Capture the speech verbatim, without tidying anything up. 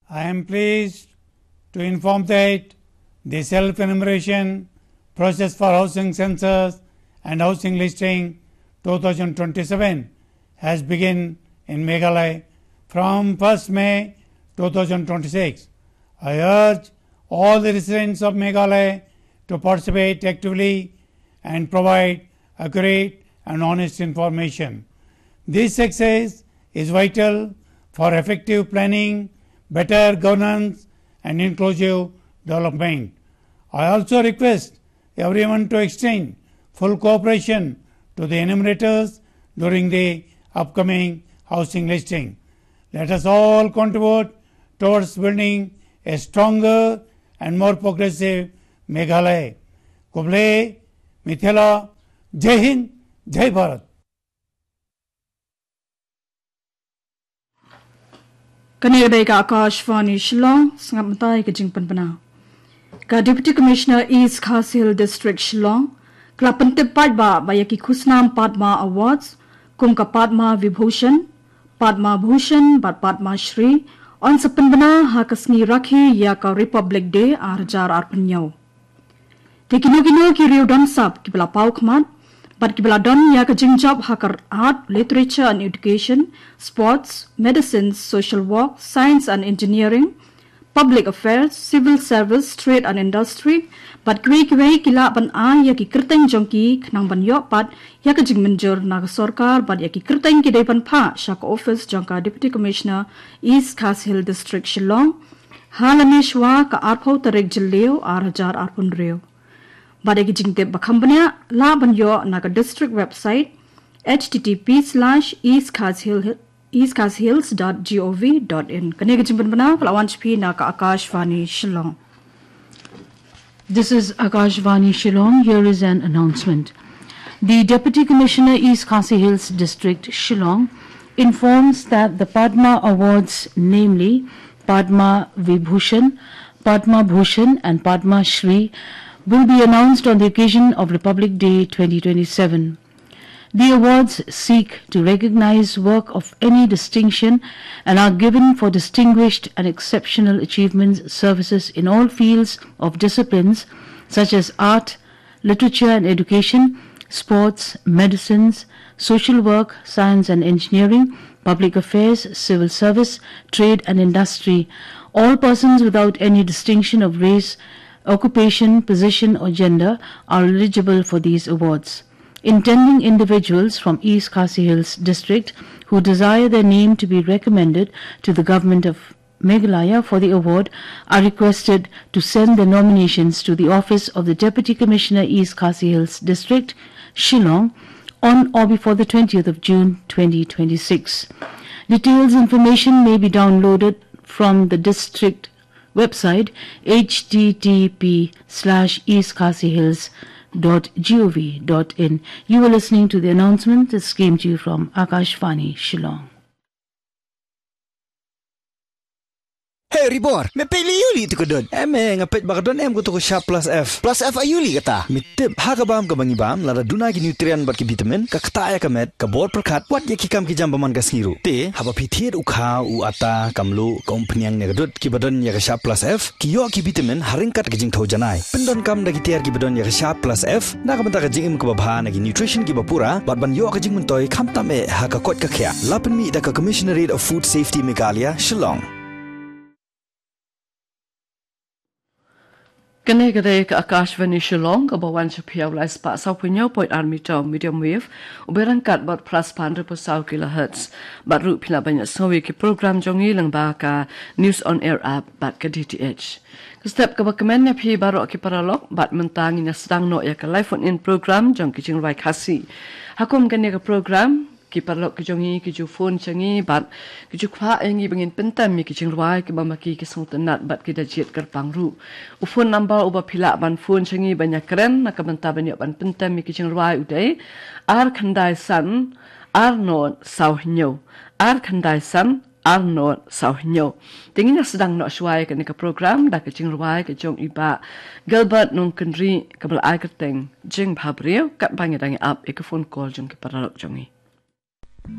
I am pleased to inform that the self-enumeration process for housing census and housing listing two thousand twenty-seven has begun in Meghalaya from first May two thousand twenty-six. I urge all the residents of Meghalaya to participate actively and provide accurate and honest information. This success is vital for effective planning, better governance, and inclusive development. I also request everyone to extend full cooperation to the enumerators during the upcoming housing listing. Let us all contribute towards building a stronger and more progressive Meghalaya. Khublei, Mithila, Jai Hind, Jai Bharat. Kane ka dei ka Akashvani Shillong, sngap mynta ïa ka jingpynbna. Ka Deputy Commissioner East Khasi Hills District Shillong ka la pyntip paidbah ba ïa ki khusnam Padma Awards kum ka Padma Vibhushan, Padma Bhushan bad Padma Shri yn sa pynbna ha ka sngi Rakhi ïa ka Republic Day ar hajar arphew hynñiew. Te kino kino ki riew don sap kiba la paw khmat bad kiba la don ïa ka jingjop ha ka art, literature and education, sports, medicine, social work, science and engineering, public affairs, civil service, trade and industry, bad kiwei kiwei ki lah ban ai ïa ki kyrteng jong ki khnang ban ïoh pat ïa ka jingmynjur na ka sorkar bad ïa ki kyrteng ki dei ban phah sha ka office jong ka Deputy Commissioner East Khasi Hills District Shillong ha lane shwa ka arphew tarik Jylliew ar hajar arphew hynriew. Bad ïa ki jingtip ba kham bniah lah ban ïoh na ka district website H T T P slash east khasi hills dot gov dot in. Kane ka jingpynbna ka la wan sha phi na ka Akashvani Shillong. This is Akashvani Shillong. Here is an announcement. The Deputy Commissioner, East Khasi Hills District, Shillong, informs that the Padma Awards, namely Padma Vibhushan, Padma Bhushan, and Padma Shri, will be announced on the occasion of Republic Day twenty twenty-seven. The awards seek to recognize work of any distinction and are given for distinguished and exceptional achievements, services in all fields of disciplines such as art, literature and education, sports, medicines, social work, science and engineering, public affairs, civil service, trade and industry. All persons without any distinction of race, occupation, position or gender are eligible for these awards. Intending individuals from East Khasi Hills District who desire their name to be recommended to the Government of Meghalaya for the award are requested to send their nominations to the office of the Deputy Commissioner, East Khasi Hills District, Shillong, on or before the twentieth of June twenty twenty-six. Details information may be downloaded from the district website, H T T P slash east khasi hills dot gov dot in. You were listening to the announcement. This came to you from Akashvani Shillong. Hey Ribor, me peit lei aïu lei tu ka don? Em, eh, nga peit ba ka don em ka tu ka Sharp Plus F. Plus F aïu lei kata? Me tip, ha ka bam kaba ngi bam, lada duna ki nutrient bad ki vitamin, ka ktah ïa ka met, ka bor pyrkhat, wat ïa ki kam ki jam ba man ka sngi ruh. Te, haba phi thied u kha, u atta, ka mluh, ka umphniang ne ka dud, kiba don ïa ka Sharp Plus F, ki ïoh ki vitamin ha ryngkat ka jingthew janai. Pyndonkam da ki tiar kiba don ïa ka Sharp Plus F, na ka bynta ka jingim kaba bha, na ki nutrition kiba pura, bad ban ïoh ka jingmyntoi khamtam eh ha ka koit ka khiah. La pynmih da ka Commissionerate of Food Safety Meghalaya, Shillong. Kane ka dei ka Akashvani Shillong kaba wan sha phi ha u lai spah saw phew hynñiew point ar meter medium wave, u ba ryngkat bad phra spah hynriew phew saw kilohertz. Bad ruh phi lah ban ïohsngew ïa ki program jong ngi lyngba ka News on Air app bad ka D T H. Ka step kaba kmen ïa phi baroh ki paralok, bad mynta ngin ïa sdang noh ïa ka live phone in program jong ki jingrwai Khasi. Ha kum kane ka program, ki paralok ki jong ngi ki ju phone sha ngi bad ki ju kwah ïa ngi ba ngin pyntem ïa ki jingrwai kiba ma ki ki sngewtynnat bad ki da jied kyrpang ruh. U phone number uba phi lah ban phone sha ngi ban ïakren na ka bynta ban ïoh ban pyntem ïa ki jingrwai u dei ar khyndai san ar nod saw hynñiew, ar khyndai san ar nod saw hynñiew. Te ngin ïa sdang noh shuwa ïa kane ka program da ka jingrwai ka jong i Bah Gilbert Nongkynrih kaba la ai kyrteng Jingbhabriew, katba ngi dang ïa ap ïa ka phone call jong ki paralok jong ngi.